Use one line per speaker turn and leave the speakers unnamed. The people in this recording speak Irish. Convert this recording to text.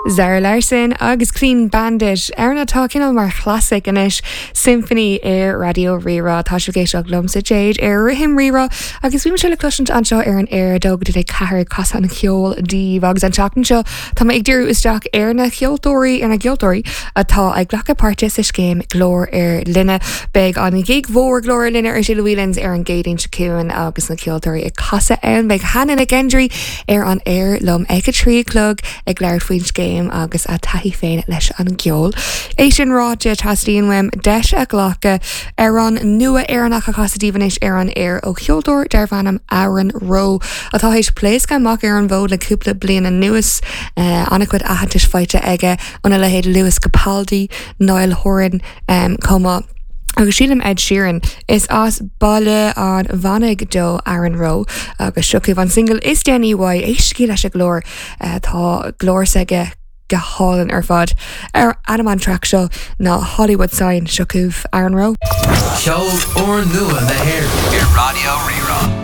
Zara Larsson agus Clean Bandit, amhrán atá cineál mar chlasaic anois, Symphony ar Raidió Rí-Rá. Tá sibh ag éisteacht liomsa Jade ar Rithim Rí-Rá agus bímse le cloisint anseo ar an aer 2 go dtí 4 ag casadh an cheoil daoibh agus an tseachtain seo tá mé ag díriú isteach ar na ceoltóirí ar na gceoltóirí atá ag glacadh páirte sa scéim Glór ar Line. Beidh an ghig mhór Glór ar Line ar siúl i Whelan's ar an gCéadaoin seo chugainn agus na ceoltóirí ag casadh ann. Beidh Hannah Nic Ghendrí ar an aer liom ag a 3 a chlog ag labhairt faoin scéim agus a taithí féin leis an gceol. É sin ráite, teastaíonn uaim deis a ghlacadh amhrán nua Éireannach a chasadh daoibh anois ar an aer ó cheoltóir darbh ainm Aaron Rowe atá théis pléascadh amach ar an bhfód le cúpla bliain anuas. An-chuid aitheantais faighte aige óna leithéid Lewis Capaldi, Niall Horan chomh maith. Agus sílim Ed Sheeran. Is as Baile an Mhanaigh dó Aaron Rowe agus seo chugaibh an single is déanaí uaidh, éistigí leis an ghlór, tá glór s'aige go hálainn ar fad. Ainm an traic seo ná Hollywood Sign, seo chugaibh Aaron Rowe.
Ceol úrnua na hÉireann ar Raidió Rí-Rá.